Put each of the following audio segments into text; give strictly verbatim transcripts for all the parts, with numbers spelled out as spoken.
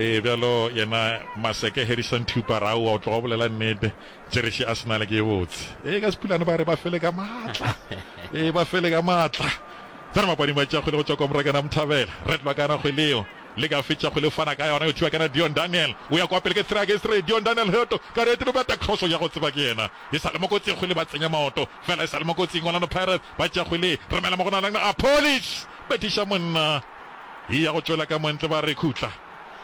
Ee, bjalo yena Maseke Harrison Thupa Raowa o tloga o bolela nnete. Tšereši Arsenal ke e botse. Ee, ka Sepulane ba re ba fele ka maatla. Ee, ba fele ka maatla. Tsena mapading ba tšea kgwele go tšwa kwa Morakana Mthabela. Red Lwakana kgwele yeo. Le ka fetša kgwele o fana ka yona yo thiba kana Dion Daniel. O ya kwa pele ke three against three. Dion Daniel Heto ka re etelo bata cross ya go tseba ke yena. E sa le mo kotsing kgwele ba tsenya maoto. Fela e sa le mo kotsing Orlando Pirates ba tšea kgwele. Romela mo go na a Polish. Betiša monna. E ya go tšwela ka montle ba re khutla.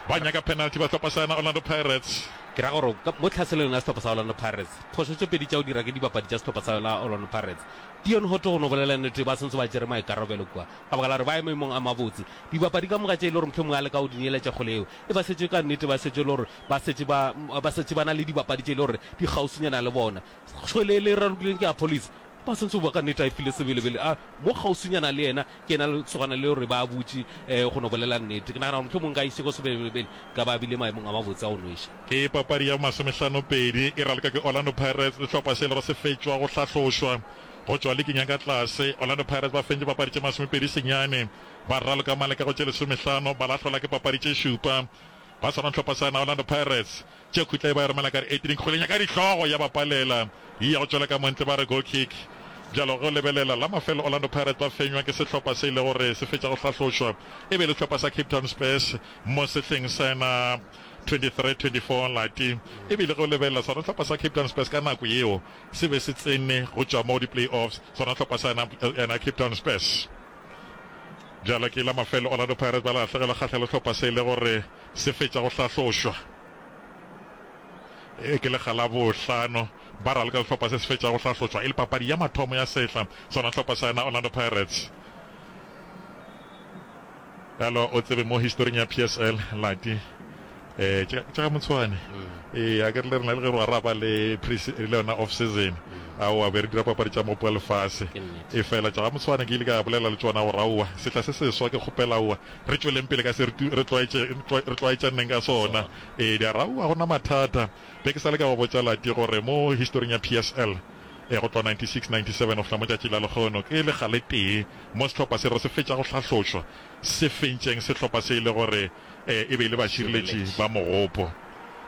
Ba nyaka penalty ba hlopha sa yona Orlando Pirates. Ke ra gore mo tlhaselong ya sehlopha sa Orlando Pirates, phošo tše pedi tša go dira ke dibapadi tša sehlopha sa yona Orlando Pirates. Dion Hotto go no bolela nnete ba sentse ba tšere maikarabelo kua ka baka la gore ba eme maemong a mabotse. Dibapadi ka moka tše e le gore mohlomongwe a leka go di neeletša kgole yeo e ba setše ka nnete ba setše e le gore ba setše ba ba setše ba na le dibapadi tše e le gore di kgauswinyana le bona. Kgwele e le ralokileng ke ya Police ba sentse ba ka nnete a e file Sebelebele a mo kgauswinyana le yena ke yena lesogana le gore ba butše um go no bolela nnete. Ke nagana gore mohlomongwe nka išego Sebelebele ka ba bile maemong a mabotse a go nweša. Ke papadi ya masomehlano-pedi e raloka ke Orlando Pirates, sehlopha se lego se fetšwa go hlahlošwa go tšwa liking ya ka tlase. Orlando Pirates ba fentše papadi tše masomepedi senyane, ba raloka maleka go tše lesomehlano, ba lahlola ke papadi tše šupa. Ba swana hlopha sa yona Orlando Pirates. Tše khutla e ba e romela ka di-eighteen kgweleng ya ka dihlogo ya ba palela e ya go tšwela ka montle ba re goal kick. Bjalo ge o lebelela la mafelo Orlando Pirates ba fenywa ke sehlopha se e le gore se fetša go hlahlošwa e be e le sehlopha sa Cape Town Spurs mo sehleng sa yona twenty-three twenty-four lati. E bile ge o lebelela sona sehlopha sa Cape Town Spurs ka nako yeo se be se tsene go tšwa mo di-playoffs sona sehlopha sa yona yona Cape Town Spurs. Bjalo ke la mafelo Orlando Pirates ba lahlegelwa kgahlelo sehlopha se e le gore se fetša go hlahlošwa. E ke lekga la bohlano ba raloka sehlopha se se fetša go hlahlošwa e le papadi ya mathomo ya sehla sona sehlopha sa yona Orlando Pirates. Bjalo o tsebe mo historing ya P S L lati eh tša ga Motshwane ee a ke re le rena le ge re araba le pre le yona off season aowa be re dira papadi tša mopo wa lefase e fela tša ga Motshwane ke ile ka bolela le tšona gore aowa sehla se seswa ke kgopela aowa re tšweleng pele ka se re tlwaetše re tlwaetšaneng ka sona ee di ara aowa gona mathata be ke sa le ka go botša lati gore mo historing ya P S L e go tloga ninety-six ninety-seven go fihla mo tšatši la lekgono ke lekga le tee mo sehlopha se re se fetša go hlahlošwa se fentšeng sehlopha se e le gore e be e le bašireletši ba mogopo.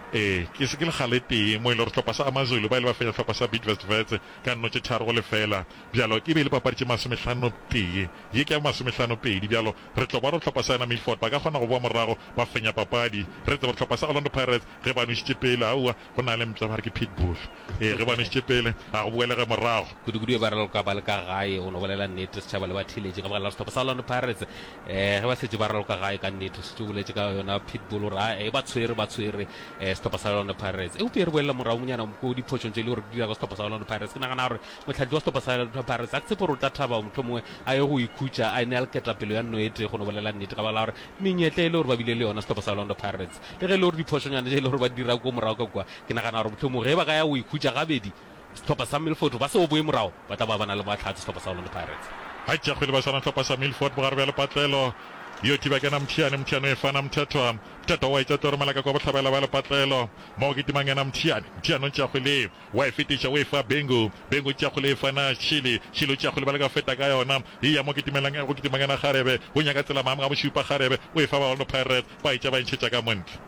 Ee, ke se ke lekga le tee mo e le gore sehlopha sa AmaZulu ba ile ba fenya sehlopha sa Bidvest Wits ka nno tše tharo go lefela. Bjalo e be e le papadi tše masomehlano tee, ye ke ya masomehlano pedi. Bjalo re tlo bona gore sehlopha sa yona Milford ba ka kgona go boa morago ba fenya papadi. Re tseba gore sehlopha sa Orlando Pirates ge ba nwešitše pele, aowa, go na le mpša ba re ke pitbull. Ee, ge ba nwešitše pele ga go boelege morago. Kudu-kudu ge ba raloka ba le ka gae, go no bolela nnete, setšhaba le batheeletši ka baka la sehlopha sa Orlando Pirates. Eh, ge ba šetše ba raloka gae ka nnete, šetše o boletše ka yona pitbull gore a e ba tshwere ba tshwere eh, sehlopha sa Orlando Pirates. Eupša re boelela moragonyana ko diphošong tše e le gore di dira ka sehlopha sa Orlando Pirates. Ke nagana gore mohlahli wa sehlopha sa Orlando Pirates a ke tshepe gore o tla thaba mohlomongwe a ye go ikhutša a ene a le ketapelo ya nno e tee go no bolela nnete ka baka la gore menyetla e le gore ba bile le yona sehlopha sa Orlando Pirates le ge e le gore diphošonyana tše e le gore ba di dira ko morago ka kua, ke nagana gore mohlomongwe ge ba ka ya go ikhutša gabedi sehlopha sa Milford ba se o boe morago ba tla ba ba na le mahlatse sehlopha sa Orlando Pirates. Ga tša kgwele ba swana sehlopha sa Milford bogare bja lepatlelo. Yo thiba kena Mthiane, Mthiane o e fana Mthethwa. Mthethwa wa e tša tlo romela ka kwa bohlabela bja lepatlelo. Mo go kitimang yena Mthiane. Mthiane o tšea kgwele, wa e fetiša o e fa Bengu. Bengu o tšea kgwele e fana Shili. Shili o tšea kgwele ba leka go feta ka yona. E ya mo kitimelang go kitimang yena Kgarebe. O nyaka tsela maamo ga bošupa Kgarebe o e fa ba Orlando Pirates ba e tša ba e ntšhetša ka montle.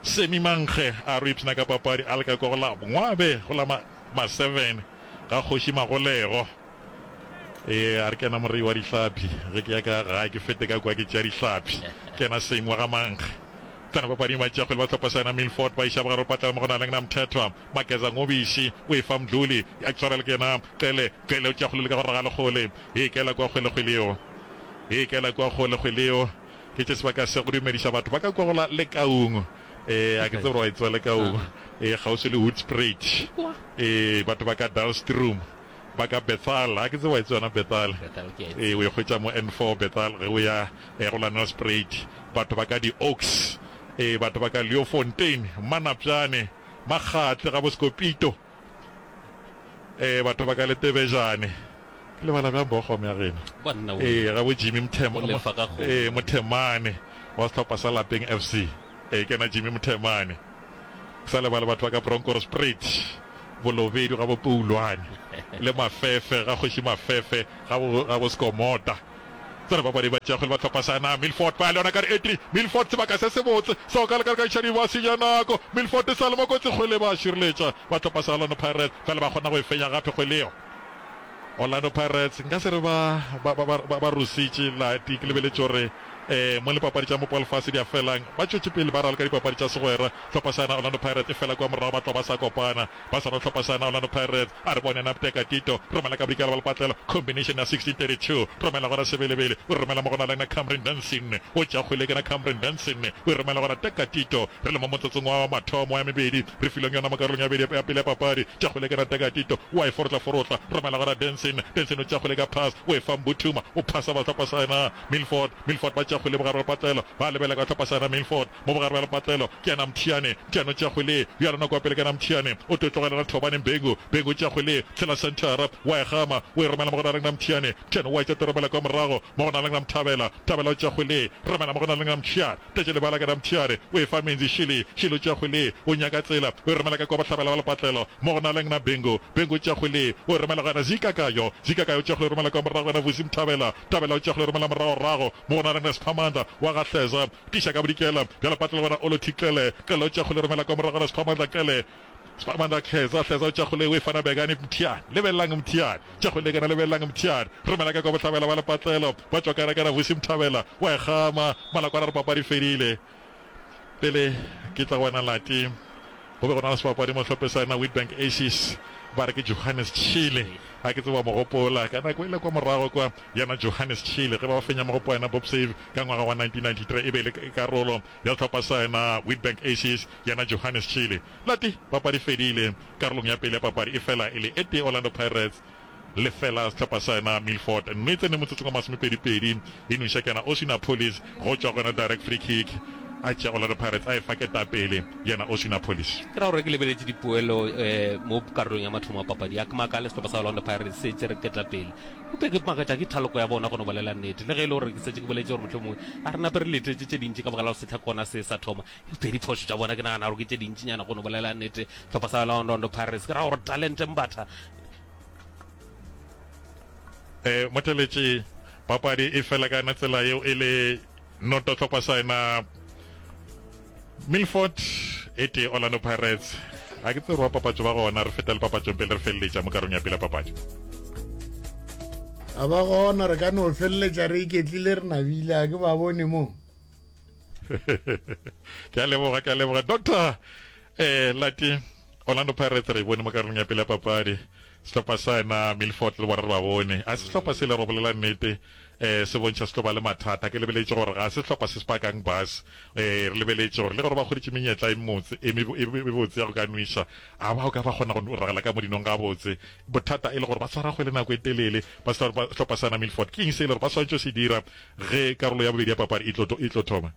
Semi Mankge a re o ipshina ka papadi a leka kwa go la Ngwabe go la ma, ma seven ga Kgoši Magolego. Ee, a re ke yena morei wa dihlapi. Ge ke ya ka gae ke fete ka kwa ke tšea dihlapi. Ke yena Semi wa ga Mankge. Tsena papading ba tšea kgwele ba hlopha sa yena Milford ba iša bogare patlela mo go na leng na Mthethwa. Mageza Ngobiši o e fa Mdluli a tshwarela ke yena Qele. Qele o tšea kgwele le ka go raga lekgole. E kela kwa kgwele kgwele yeo. E kela kwa kgole kgwele yeo. Ke tše sebaka se go dumediša batho ba ka kwa go la Lekaung. Ee, a ke tsebe gore wa e tseba Lekaung. Ee, kgauswi le Hoedspruit. Ee, batho ba ka Dullstroom. Ba ka Bethal, a ke tsebe wa e tseba yona Bethal. Ee, o e hwetša mo N four Bethal ge o ya go la Nelspruit. Batho ba ka di-Oaks, ee, batho ba ka Leeuwfontein, Mmanapjane, Makgatle, ga bo Sekopito, ee, batho ba ka Letebejane. Ke lebala bjang Bochum ya geno? Ee, ga bo Jimmy Mthema, ee, Mothemane wa sehlopha sa Lapeng F C. Ee, ke yena Jimmy Mothemane. Ke sa lebale batho ba ka Bronkhorstspruit, Bolobedu ga bo Poulwane, le Mafefe ga Kgoši Mafefe ga bo, ga bo Skomota. Tsena papadi ba tšea kgwele ba hlopha sa na Milford ba le yona ka di eighty Milford sebaka se sebotse seo ka leka ka iša di ba senya nako Milford e sa le mo kotsi kgwele ba šireletša ba hlopha sa Orlando Pirates fela ba kgona go e fenya gape kgwele yeo Orlando Pirates nka se re ba ba ba ba ba rusitše lati ke lebeletše gore eh mo le papadi tša mopo wa lefase di a felang ba tšwetše pele ba raloka dipapadi tša segwera hlopha sa Orlando Pirates e fela kwa morago ba tloga ba sa kopana ba swana hlopha sa Orlando Pirates a re bone Napteka Tito romela ka bodikela ba lepatlelo combination ya sixteen thirty two romela gona Sebelebele o romela mo gona le na Cameron Danson o tša kgwele ke na Cameron Danson o romela gona Teka Tito re le mo motsotsong wa mathomo ya mebedi re fileng yona mo karolong ya bedi ya pele ya papadi tša kgwele ke na Teka Tito wa e forotla forotla romela gona Danson Danson o tša kgwele ka pass o e fa Mbuthuma o phasa ba hlopha sa yena Milford Milford ba tša kgwele bogare ba lepatlelo ba lebela ka hlopha sa yena Milford mo bogare ba lepatlelo ke yena Mthiane Mthiane o tša kgwele ya lona kwa pele ke yena Mthiane o tlo tlogelela Thobane Mbengu Bengu o tša kgwele tshela centera wa e gama o e romela mo go na le Mthiane Mthiane wa e tša romela kwa morago mo go na le Mthabela Thabela o tša kgwele romela mo go na le Mthiane tletše lebala ke na Mthiane o e fa Menzi Shili Shili o tša kgwele o nyaka tsela o e romela ka kwa bohlabela ba lepatlelo mo go na le Bengu Bengu o tša kgwele o e romela go yena Zikakayo Zikakayo o tša kgwele romela kwa morago yena Vusi Mthabela Thabela o tša kgwele romela morago rago mo go na le Sphamandla wa Gahleza tiša ka bodikela bja lepatlelo gona Olothi Qele Qele o tša kgwele romela kwa morago gona Sphamandla Qele Sphamandla Hleza Hleza o tša kgwele o e fana Bekane Mthiane lebelelang Mthiane tša kgwele kana lebelelang Mthiane romela ka kwa bohlabela ba lepatlelo ba tšwa kana kana Vusi Mthabela wa e gama malakwana re papadi fedile pele ke tla go wena Lati go be go na le sebapadi mo hlophe sa yena Witbank Aces ba re ke Johannes Chile a ke tseba mogopola ka nako ile kwa morago kwa yena Johannes Chile ge ba fenya mogopo yena Bob Save ka ngwaga wa nineteen ninety-three e be le karolo ya hlopha sa yena Witbank Aces yena Johannes Chile Lati papadi fedile karolong ya pele ya papadi e fela e le e tee Orlando Pirates lefela sehlopha sa yena Milford mme tsene motsotsong wa masomepedi-pedi e noša ke yena Oswin Appollis go tšwa go yona direct free kick a tšea Orlando Pirates a e fa ketapele yena Oswin Appollis. Ke ra gore ke lebeletše dipoelo eh, mo karolong ya mathomo a papadi ya ke makale sehlopha sa Orlando Pirates se tšere ketapele eupša ke makatša ke thaloko ya bona go no bolela nnete le ge e le gore ke setse ke boletše gore mohlomongwe a re nape re letetše tše dintši ka baka la go sehla kona se sa thoma eupša diphošo tša bona ke nagana gore ke tše dintšinyana go no bolela nnete sehlopha sa Orlando Pirates ke ra gore talente Mbatha eh motheletše papadi e fela ka yona tsela yeo e le noto hlopha sa yena Milford e tee Orlando Pirates a ke tsere wa papatšo ba gona re feta le papatšong pele re feleletša mo karong ya pele ya papatšo a ba gona re ka no feleletša re iketlile re nabile a ke ba bone mo ke a leboga ke a leboga doctor eh Lati Orlando Pirates re bone mo karolong ya pele ya papadi sehlopha sa yena Milford le bona re ba bone a sehlopha se le re bolela nnete eh se bontšha se tlo ba le mathata ke lebeletše gore ga se sehlopha se se pakang bus eh re lebeletše gore le gore ba kgweditše menyetla e motse e mebotse ya go ka nweša a ba o ka ba kgona go ragela ka modinong ga botse bothata e le gore ba tshwara kgwele nako e telele ba sehlopha sa yena Milford ke eng se e le gore ba swanetše se dira ge karolo ya bobedi ya papadi e tlo e tlo thoma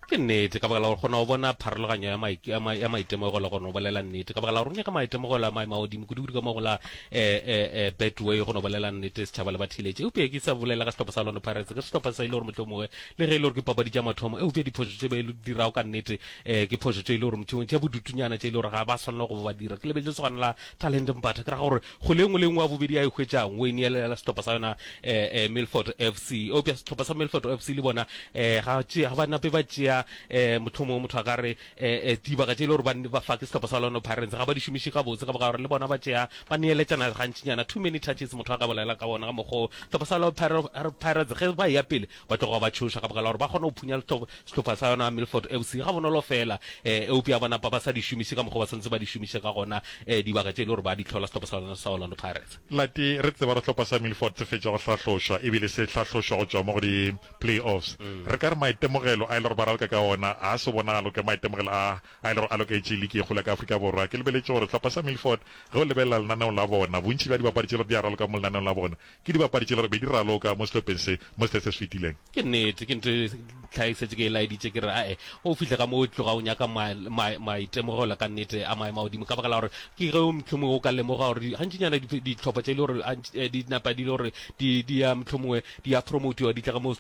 Ke nnete, ka baka la gore kgona go bona pharologanyo ya maik, ya ma, ya maitemogelo go no bolela nnete. Ka baka la gore o nyaka maitemogelo a maemo a godimo, kudu-kudu ka mo go la eh, eh, eh, Betway go no bolela nnete, setšhaba le batheeletši. Eupša ke sa bolela ka sehlopha sa Orlando Pirates, ke sehlopha sa e le gore mohlomongwe le ge e le gore ke papadi tša mathomo, eupša diphošo tše ba e dirago ka nnete eh, ke phošo tše e le gore mohlomongwe tša bodutunyana tše e le gore ga ba swanela go ba ba dira. Ke lebetše lesogana la Talent Mbatha, ke ra gore kgwele e nngwe le e nngwe ya bobedi a e hwetšang o e neelela sehlopha sa yona eh, eh, Milford F C. Eupša sehlopha sa Milford F C le bona eh, ga tšea ga ba nape ba tšea eh, mohlomongwe motho a ka re eh, eh, dibaka tše e le gore ba ba fa ke sehlopha sa Orlando Pirates ga ba di šomiše gabotse ka baka gore le bona ba tšea ba neeletšana gantšinyana too many touches motho a ka bolela ka bona ka mokgwa sehlopha sa Orlando Pirates ge ba eya pele ba tloga ba tšhoša ka baka la gore ba kgona go phunya sehlopha sa yona Milford F C ga bonolo fela eh, eupša ba napa ba sa di šomiše ka mokgwa ba santse ba di šomiše ka gona eh, dibaka tše e le gore ba di hlola sehlopha sa yona sa Orlando Pirates. Lati re tseba re hlopha sa Milford se fetša go hlahlošwa ebile se hlahlošwa go tšwa mo go di playoffs. Re ka re maitemogelo a e le gore ba raloka ka ona a se bonagalo ke maitemogelo a a e le gore a loketše liki e kgolo ya ka Afrika Borwa. Ke lebeletše gore hlopha sa Milford ge o lebelela lenaneo la bona, bontši bja dibapadi tše le gore di a raloka mo lenaneong la bona ke dibapadi tše le gore be di raloka mo sehlopheng se mo sehleng se se fetileng. Ke nnete, ke ntho e tlha e setse ke e laeditše ke re ae o fihle ka mo o tloga o nyaka maitemogelo ka nnete a maemo a godimo ka baka la gore ke ge o mohlomongwe o ka lemoga gore gantšinyana dihlopha tše e le gore di napa di le gore di di ya mohlomongwe di ya promotiwa di tla ka mo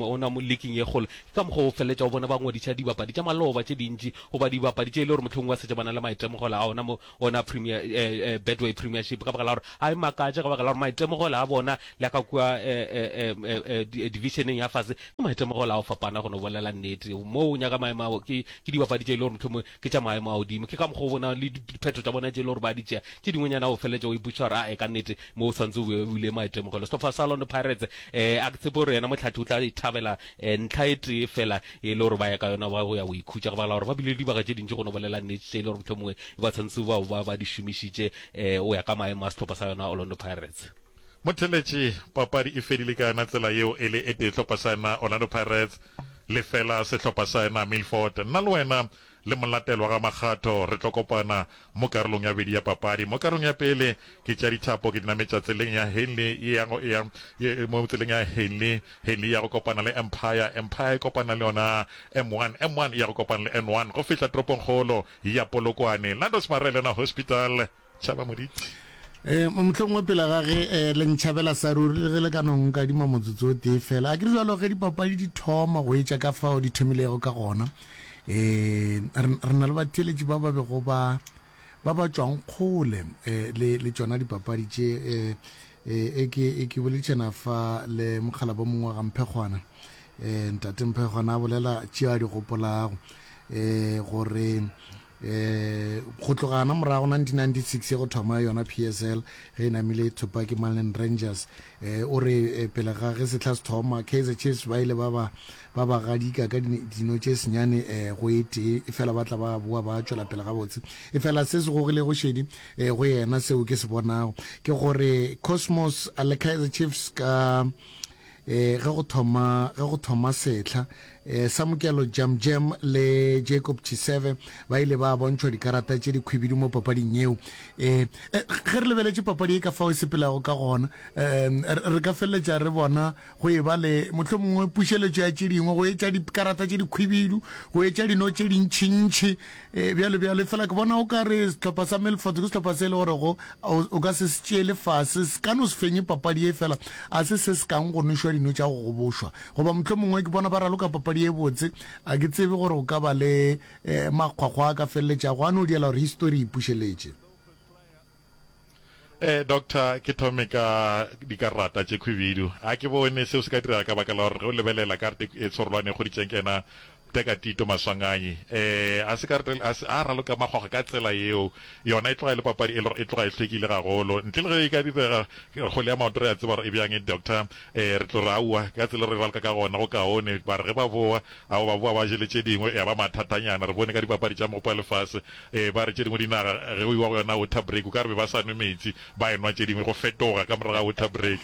ona mo leaking ye kgolo ke ka mokgwa o feleletša o bona ba ngwadiša dibapadi tša maloba tše dintši goba dibapadi tše e le gore mohlomongwe ba setse ba na le maitemogelo a ona mo ona premier eh, eh, Betway Premiership ka baka la gore a e makatše ka baka la gore maitemogelo a bona le ka kua eh, eh, eh, divisioneng ya fase ke maitemogelo a go fapana go no bolela nnete. Mo o nyaka maemo ao ke ke dibapadi tše e le gore mohlomongwe ke tša maemo a godimo, ke ka mokgwa o bona le diphetho tša bona tše e le gore ba di tšea tše dingwenyana o feleletša o ipotšiša gore ae ka nnete mo o tshwanetse o be o ile maitemogelo. Sehlopha sa Orlando Pirates um a ke tshepe gore yena motlhathi o tla ithabela um ntlha e tee fela e le gore ba ya ka yona ba go ya go ikhutša, go bala gore ba bile le dibaka tše dintši go no bolela nnete tše e le gore mohlomongwe ba tshwanetse ba ba ba di šomišitše um o ya ka maemo a sehlopha sa yona Orlando Pirates. Motheletši, papadi e fedile ka yona tsela yeo e le e tee hlopha sa yena Orlando Pirates lefela sehlopha sa yena Milford. Nna le wena le molatelwa ga Makgatho re tlo kopana mo karolong ya bobedi ya papadi. Mo karolong ya pele ke tša dithapo ke di nametša tseleng ya Henley e ya go ya mo tseleng ya Henley, Henley ya go kopana le Empire, Empire e kopana le yona M one, M one e ya go kopana le N one go fihla toropongkgolo ya Polokwane. Landos Marelena Hospital, Tšhaba Moditi. Um mohlomongwe pele ga ge um le ntšhabela sa ruri le ge le ka no nkadima motsotso o tee fela, a ke re jalo ge dipapadi di thoma go etša ka fao di thomilego ka gona, um re na le batheeletši ba ba bego ba ba ba tšwang kgole um le le tšona dipapadi tše. Um e ke e ke boledišana fa le mokgalabo mongwe wa ga Mphekgwana, um ntate Mphekgwana a bolela tšeo a di gopolago um gore um go tloga gana morago nineteen ninety-six go thoma yona P S L ge e namile e thopa ke Malin Rangers, um o re pele ga ge sehla se thoma Kaizer Chiefs ba ile ba ba ba ba gadika ka dino tše senyane um go e tee, efela ba tla ba boa ba tšwela pele gabotse. Efela se se gogilego šedi um go yena seo ke se bonago ke gore Cosmos le Kaizer Chiefs ka eh ge go thoma ge go thoma sehla, eh Samukelo Jam Jam le Jacob Chiseve ba ile ba bontšhwa dikarata tše dikhwibidu mo papading yeo. Eh ge re lebeletše papadi e ka fao e sepelago ka gona, eh re ka feleletša re bona go e ba le mohlomongwe pušeletšo ya tše dingwe, go etša dikarata tše dikhwibidu, go etša dino tše dintšintši, eh bjalo bjalo. Fela ke bona o ka re sehlopha sa Milford ke sehlopha se e le gore go o ka se se tšeele fase, se ka no se fenye papadi e, fela a se se se kang go nwešwa dino tša go gobošwa, goba mohlomongwe ke bona ba raloka papadi e botse. A ke tsebe gore o ka ba le eh, makgwakgwa a ka feleletšago a no diela gore histori e ipušeletše. Eh, doctor, ke thome ka dikarata tše khwibidu. A ke bone seo se ka direga ka baka la gore ge o lebelela karate e tshorolwane e kgoditšeng ke yena Teka Tito Maswanganyi, eh, a se karate, a se a raloka makgwakgwa ka tsela yeo. Yona e tloga e le papadi e le gore e tloga e hlwekile gagolo. Ntle le ge e ka direga kgwele ya maoto re a tseba gore e bjang, doctor. Eh, re tlo re aowa ka tsela re raloka ka gona go kaone. Ba re ge ba boa, ao ba boa ba jele tše dingwe ya ba mathatanyana. Re bone ka dipapadi tša mogopo wa lefase, eh, ba re tše dingwe dinaga ge go iwa go yona water break o ka re be ba sa nwe metsi, ba enwa tše dingwe go fetoga ka morago ga water break.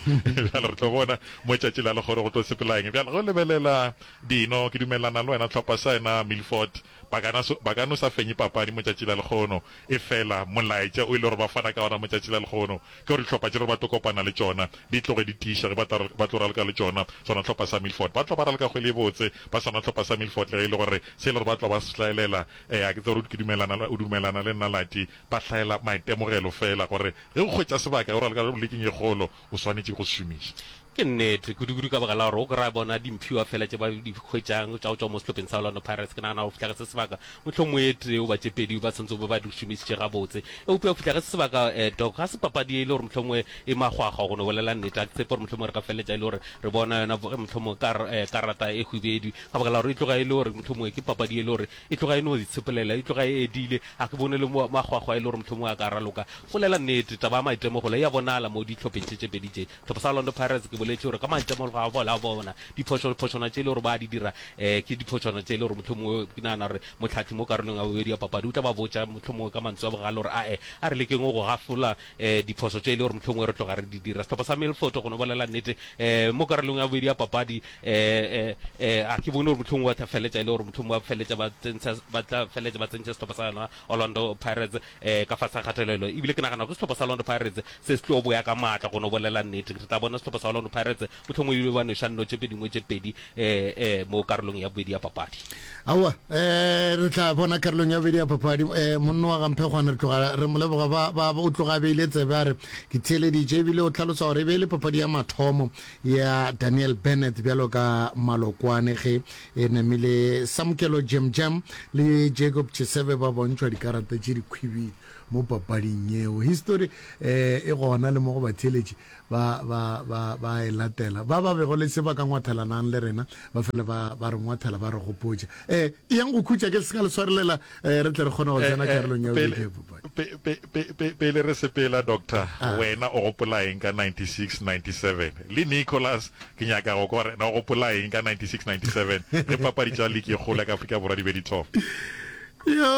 Bjale re tlo bona mo tšatši la lekgono go tlo sepela eng. Bjale ge o lebelela dino, ke dumelelana le wena hlopha sa yena Milford ba ka ba ka no sa fenye papadi mo tšatši la lekgono, efela molaetša o ile gore ba fana ka ona mo tšatši la lekgono ke gore dihlopha tše gore ba tlo kopana le tšona di tloge di tiiša ge ba tla ba tlo raloka le tšona. Sona hlopha sa Milford ba tlo ba raloka kgwele e botse ba sona hlopha sa Milford le ge e le gore se e le gore ba tlo ba se hlaelela, eh a ke tsebe gore ke dumelana o dumelana le nna Lati, ba hlaela maitemogelo fela gore ge o hwetša sebaka o raloka leking e kgolo o swanetše go se šomiša. Ke nnete, kudu-kudu ka baka la gore o kry-a bona dimphiwa fela tše ba di hwetšang tša go tšwa mo sehlopheng sa Orlando Pirates. Ke nagana go fihla ge se sebaka mohlomongwe e tee goba tše pedi ba tshwanetse go be ba di šomišitše gabotse. Eupša go fihla ge se sebaka, eh, Doc, ga se papadi e le gore mohlomongwe e makgwakgwa go no bolela nnete. Ga ke tshepe gore mohlomongwe re ka feleletša e le gore re bona yona mohlomongwe kar, eh, karata e hwibedu, ka baka la gore e tloga e le gore mohlomongwe ke papadi e le gore e tloga e no itshepelela, e tloga e edile. Ga ke bone le makgwakgwa e le gore mohlomongwe a ka raloka. Bolela nnete, taba ya maitemogelo e a bonala mo dihlopheng tše tše pedi tše. Sehlopha sa Orlando Pirates ke boletše gore ka maitemogelo a bona, bona diphošo-phošwana tše e le gore ba di dira, eh, ke diphošwana tše e le gore mohlomongwe ke nagana gore mohlahli mo karolong ya bobedi ya papadi o tla ba botša mohlomongwe ka mantswe a bogale gore ae, a re lekeng go gafola eh, diphošo tše e le gore mohlomongwe re tloga re di dira. Sehlopha sa Milford go no bolela nnete, eh, mo karolong ya bobedi ya papadi, eh, eh, eh, a ke bone gore mohlomongwe ba tla feletša e le gore mohlomongwe ba feletša ba tsentšha, ba tla feletša ba tsentšha sehlopha sa yona Orlando Pirates eh, ka fase ga kgatelelo. Ebile ke nagana gore sehlopha sa Orlando Pirates se se tlo boya ka maatla go no bolela nnete. Re tla bona sehlopha sa Orlando Pirates mohlomongwe ebile ba nweša nno tše dingwe tše pedi eh, eh, mo karolong ya bobedi ya papadi. Aowa, eh, re tla bona karolong ya bobedi ya papadi. Eh, monna wa Gamphegwane re tloga re mo leboga, ba, ba, o tloga a beile tsebe a re ke theeleditše, ebile o hlalosa gore e be e le papadi ya mathomo ya Daniel Bennett bjalo ka malokwane ge e namile Samukelo Jam Jam le Jacob Chisebe ba bontšhwa dikarata tše dikhwibidu. mo papading yeo. Histori eh e gona le mo go batheeletši ba ba ba ba e latela. Ba ba bego le se ba ka ngwathelanang le rena ba fele ba ba re ngwathela ba re gopotša. Eh e yang go khutša ke se ka le swarelela eh re tle re kgone go tsena karolong ya bobedi ya papadi. Pe, pe, pe, pe, pele re sepela, Doctor, wena o gopola eng ka ninety-six ninety-seven? Le Nicholas, ke nyaka go kwa gore na o gopola eng ka ninety-six ninety-seven ge papadi tša liki e kgolo ya ka Afrika Borwa di be di thoma? Yo,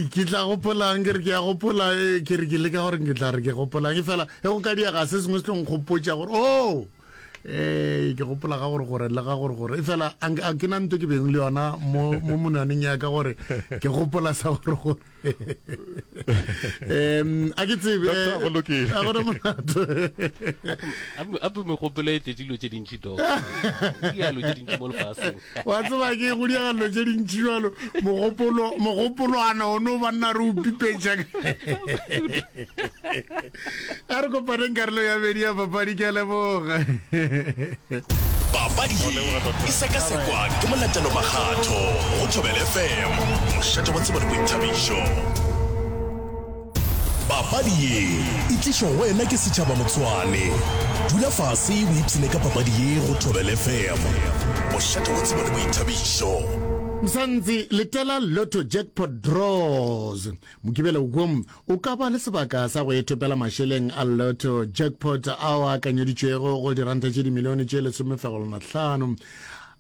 ke tla gopolang, ke re ke a gopola, ke re ke leka gore ke tla re ke gopolang, e fela ge go ka diega se sengwe se tlo nkgopotša gore oh eh ke gopola ga gore gore le ga gore gore, e fela a ke na nto ke beng le yona mo mo monwaneng ya ka gore ke gopola sa gore gore um a ke tsebe Doctor, go lokile. a gona molato. Ape megopolo e tletše dilo tše dintši, Doc. Dialo tše dintši mo lefaseng. Wa tseba ke go diega dilo tše dintši jalo, mogopolo mogopolwana o no banna re o pipetša. A re kopaneng karolo ya bedi ya papadi, ke a leboga. Papadi ye e sekasekwa ke Molatelo Makgatho go Thobela F M, mošate wa tsebo le boithabišo. Papadi ye e tlišwa go wena ke setšhaba Motshwane. Dula fase o ipshine ka papadi ye go Thobela F M, mošate wa tsebo le boithabišo. Msantsi, letela Lotto Jackpot Draws. Mokibelo wo o ka ba le sebaka sa go ithopela mašeleng a Lotto Jackpot ao a akanyeditšwego go diranta tše dimilione tše lesomefegolwana-hlano.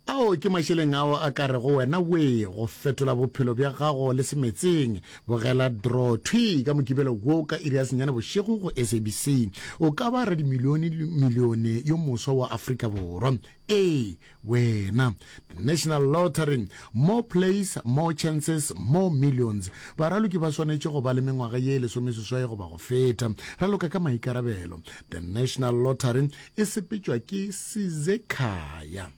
Ao ke mašeleng ao a ka rego wena wee go fetola bophelo bja gago le semetseng. Bogela draw thwi ka Mokibelo wo ka iri ya senyane bošego go S A B C. O ka ba radimilione milione yo moswa wa Afrika Borwa. Ee, wena. The National Lottery. More plays, more chances, more millions. Baraloki ba swanetše go ba le mengwaga ye lesomeseswai goba go feta. Raloka ka maikarabelo. The National Lottery e sepetšwa ke Sizekhaya.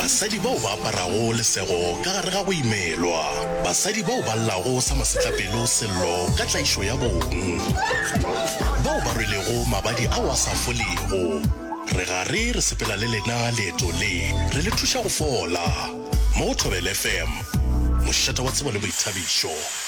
Basadi bao ba aparago lesego ka gare ga go imelwa. Basadi bao ba llago sa masetlapelo sello ka tlaišo ya bong. Bao ba rwelego mabadi ao a sa folego. Re gare re sepela le lena leeto le, re le thuša go fola. Mo go Thobela F M, mošate wa tsebo le boithabišo.